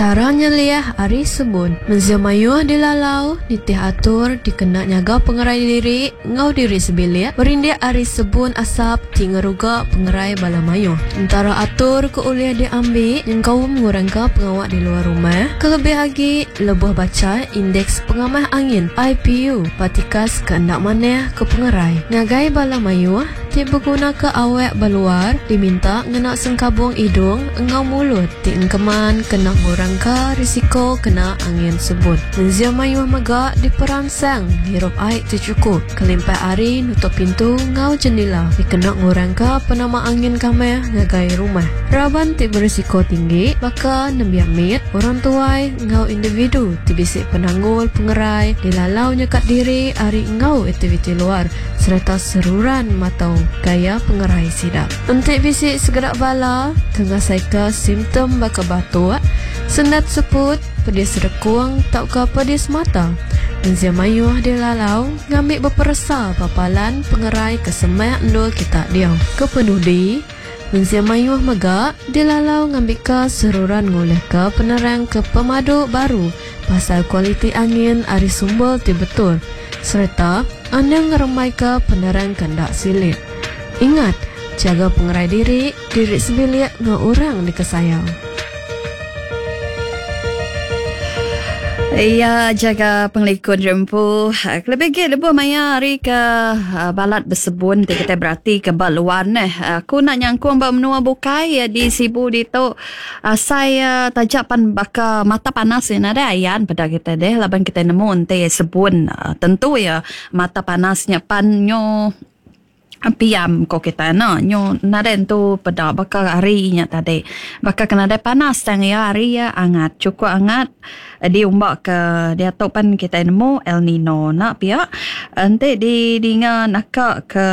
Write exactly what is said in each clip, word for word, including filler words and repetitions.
Chara nyeliah ari sebun. Mensia mayuh dilalau nitih atur dikena nyaga pengerai diri enggau diri sebilik berindik ari sebun asap ti ngeruga pengerai bala mayuh. Entara atur ke ulih diambi nyengkaum ngurangka pengawa di luar rumah kelebih agi lebuh bacha Indeks Pengamah Angin, I P U, ba tikas ke enda manah ke pengerai. Ngagai bala mayuh ti begunaka awak ba luar diminta ngena sengkabung idung enggau mulut ti engkeman kena ngurangka risiko kena angin sebun. Mensia mayuh mega diperansang ngirup ai ti chukup kelimpah ari nutup pintu enggau jendela dikena ngurangka penama angin kamah ngagai rumah. Raban ti berisiko tinggi baka nembiak mit, orang tuai enggau individu ti bisi penanggul pengerai dilalau nyekat diri ari enggau aktiviti luar sereta seruran matau gaya pengerai sida. Enti bisi segera bala ke ngasaika simptom baka batuk, sendat seput, pedis rekung tauka pedis mata, mensia mayuh dilalau ngambi beperesa papalan pengerai ke semak endur kita diau. Kepenudi, mensia mayuh mega dilalau ngambika seruran ngulihka penerang ke pemadu baru pasal kualiti angin ari sumber ti betul sereta anda ngerembaika penerang ke ndak silik. Ingat, jaga pengerai diri, diri sebilik enggau orang dikesayau. Ya, jaga pengelikun rempu. Lebih lagi lebuh maya hari ke balat bersebun ti kita berarti ke baluan eh. Aku nak nyangkung ba menua bukai ya, di Sibu ditu. Saya tajak pan baka mata panas ya nada ayan pada kita deh laban kita nemu ente sebun tentu ya mata panasnya pan nyo piam ko kita na nyo naren tu peda baka hari nya tadi baka kena ada panas tang ya hari ya angat cukup angat diumbak ke dia tu pan kita nemu El Nino nak pia ente di dinga naka ke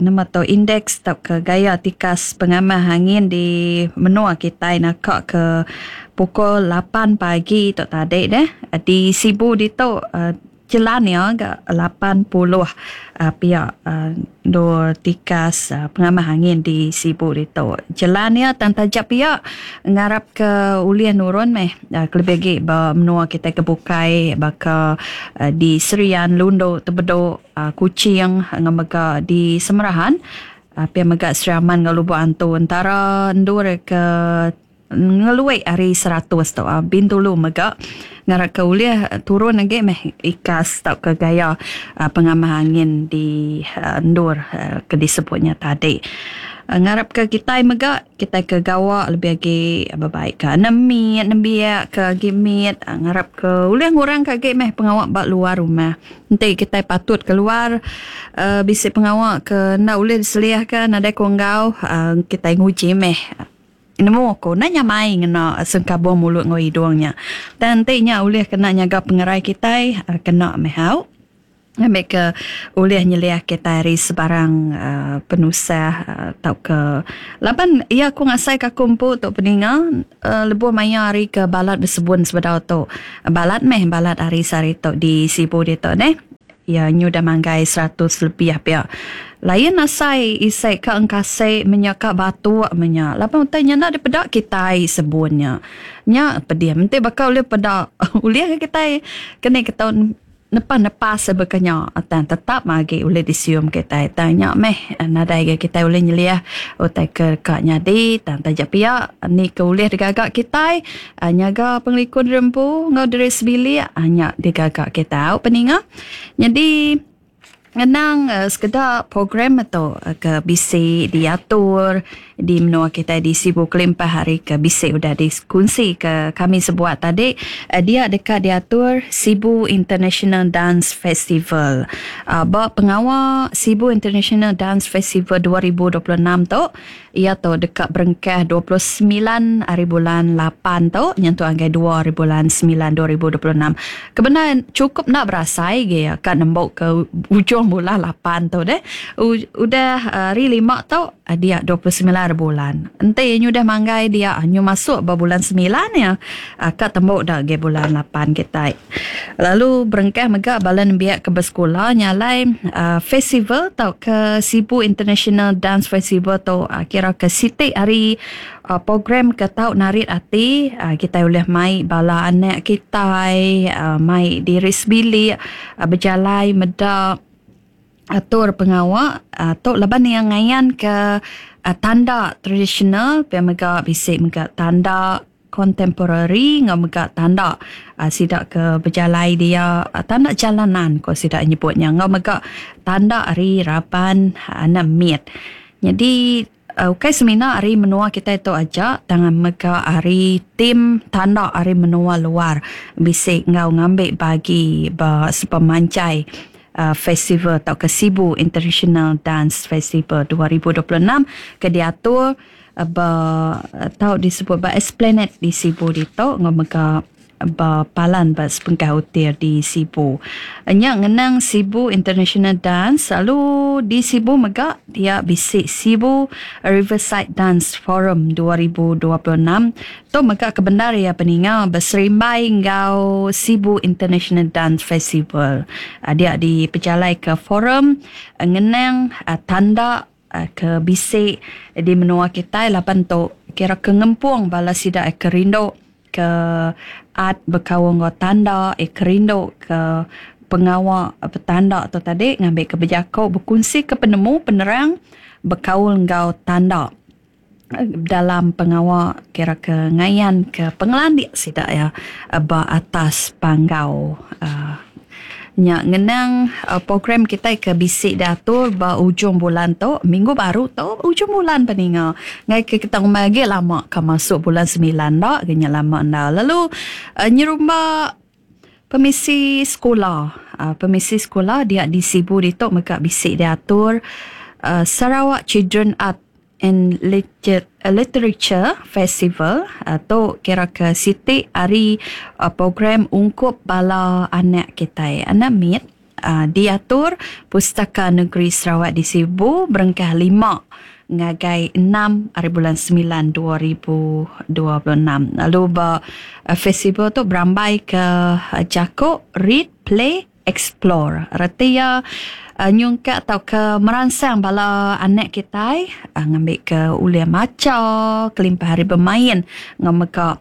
nama tu indeks atau ke gaya tikas pengamah angin di menua kita naka ke pukul lapan pagi tu tadi deh di Sibu ditu jelan ya agak lapan puluh uh, pihak uh, dua tikas uh, pengamah angin di Sibu itu. Jelan ya tang tajak pihak ngarap ke ulian nurun meh uh, kelebih lagi ba menua kita ke bukai baka uh, di Serian, Lundo, Tebedok, uh, Kuching ngamega di Semerahan uh, pihak mega Seriaman ngau Lubuk Antu antara ndur ke ngeluai hari seratus tu uh, Bintulu mega ngarap ke ulih turun lagi meh ikas tau ke gaya uh, pengamah angin di uh, ndur uh, ke disebutnya tadi. Uh, ngarap ke kita mega kita ke gawa lebih lagi berbaik ke nemit nembiak ke gimit uh, ngarap ke ulih ngurang ke agi meh pengawak ba luar rumah. Nanti kita patut keluar uh, bisi pengawak ke nak ulih diseliahkan nadai konggau uh, kita nguji meh. Nemu aku nanya mai ngena sengkabung mulut ngau hidungnya. Dan nantinya ulih kena nyaga pengerai kita kena mehau. Ngambil ke ulih nyeliah kita hari sebarang uh, penusah uh, tau ke laban ia aku ngasai ke aku empu tok peninga uh, lebuh maya hari ke balat bersebun sebedau tu. Balat meh balat hari sehari tu di Sibu dia tu neh. Ya nyu dah manggai seratus lebih pia. Lain asai isai ka engkasai menyaka batu menya. Lapan utai nya nak dipedak kitai sebunnya. Nya pedih. Menti bakal ulih pedak ulih kitai kena kita nepas-nepas sebekanya atan tetap magi ulih disium kitai. Tanya meh nadai ge kitai ulih nyeliah utai ke ka nyadi tan tajak pia ni ke ulih digagak kitai nyaga pengelikun rempu ngau diri sebilik nya digagak kita. Peninga. Jadi ngenang uh, sekedar program atau uh, ke B C diatur di menua kita di Sibu Kelimpah hari ke B C udah dikunsi ke kami sebuat tadi uh, dia dekat diatur Sibu International Dance Festival. Uh, ba pengawal Sibu International Dance Festival dua ribu dua puluh enam tu ia tu dekat berengkah dua puluh sembilan hari bulan lapan tu nyentuh anggai dua hari bulan sembilan dua ribu dua puluh enam. Kebenaran cukup nak berasai ge ya kat nembok ke ujung bulan lapan tu deh. U, udah hari lima tu Dia dua puluh sembilan bulan. Enti nyu dah manggai dia nyu masuk ba bulan sembilan ya. Ka tembuk dah ge bulan lapan kita. Lalu berengkah mega bala nembiak ke bersekolah nyalai uh, festival tau ke Sibu International Dance Festival tu uh, kira ke siti hari uh, program ke tau narit ati uh, kita boleh mai bala anak kita uh, mai diri sebilik uh, berjalai meda atur pengawak uh, tu laban yang ngayan ke uh, tanda tradisional pe mega bisi mega tanda kontemporari ngau mega tanda uh, sidak ke berjalai dia uh, tanda jalanan ko sidak nyebutnya ngau mega tanda ari raban anak mit. Jadi uh, ukai semina ari menua kita itu aja tangan mega ari tim tanda ari menua luar bisi ngau ngambil bagi ba sepemanjai Uh, festival atau ke Sibu International Dance Festival dua ribu dua puluh enam ke diatur uh, ba tau disebut ba Esplanade di Sibu ditu ngau mega ba palan ba sepengkah hotel di Sibu. Nya ngenang Sibu International Dance lalu di Sibu mega dia bisi Sibu Riverside Dance Forum dua ribu dua puluh enam. Tu mega kebenar ya peninga berserimbai ngau Sibu International Dance Festival. Dia dipejalai ke forum ngenang tanda ke bisi di menua kita lapan tu kira ke ngempung bala sida ke rindu ke art berkawan ngau tanda eh kerindu ke pengawa petanda tu tadi ngambil ke berjakau berkongsi ke penemu penerang berkaul ngau tanda dalam pengawa kira ke ngayan ke pengelandik sida ya ba atas panggau. Uh, nya ngenang uh, program kita ke bisi diatur ba ujung bulan tu minggu baru tu ujung bulan peninga ngai ke kita lagi lama ke masuk bulan sembilan dak genya lama dah. Lalu uh, nyerumba permisi sekolah uh, permisi sekolah dia di Sibu ditu mega bisi diatur uh, Sarawak Children Art and Literature Festival atau kira ke siti hari uh, program ungkup bala anak kita anak mit uh, diatur Pustaka Negeri Sarawak di Sibu berengkah lima ngagai enam hari bulan sembilan dua ribu dua puluh enam. Lalu ba uh, festival tu berambai ke uh, Jakok Read Play Explore. Retia uh, nyungkak atau ke merangsang bala anak kita uh, ngambil ke ulia maca kelimpah hari bermain ngameka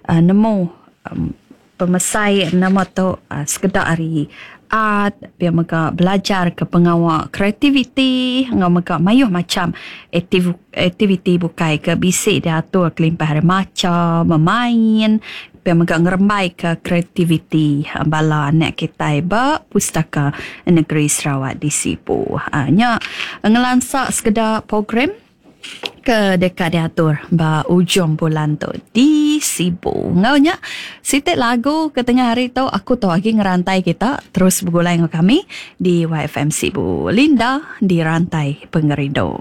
uh, nemu um, pemesai nama tu uh, sekedar hari art biar mega belajar ke pengawak kreativiti ngameka mayuh macam aktiv, aktiviti bukai ke bisik diatur kelimpah hari maca memain biar mega ngerembai ke kreativiti bala anak kita ba Pustaka Negeri Sarawak di Sibu. Ha, nya ngelansak sekedar program ke dekat diatur ba ujung bulan tu di Sibu. Ngau nya sitik lagu ke tengah hari tu aku tu lagi ngerantai kita terus bergulai dengan kami di Y F M Sibu. Linda di Rantai Pengerindu.